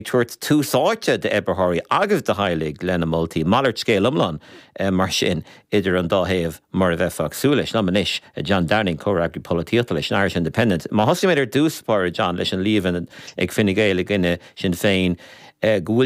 Tabhairt tús áite d'oibritheoirí agus do theaghlaigh lena moltaí. Malairt scéil iomlán mar sin idir an dá thaobh mar a bheifeá ag súil leis. Liom anois, John Downing, comhfhreagraí polaitíochta leis an Irish Independent. Má thosaímid ar dtús báire, John, leis an líomhain ag Fine Gael i gcoinne Sinn Féin go bhfuil.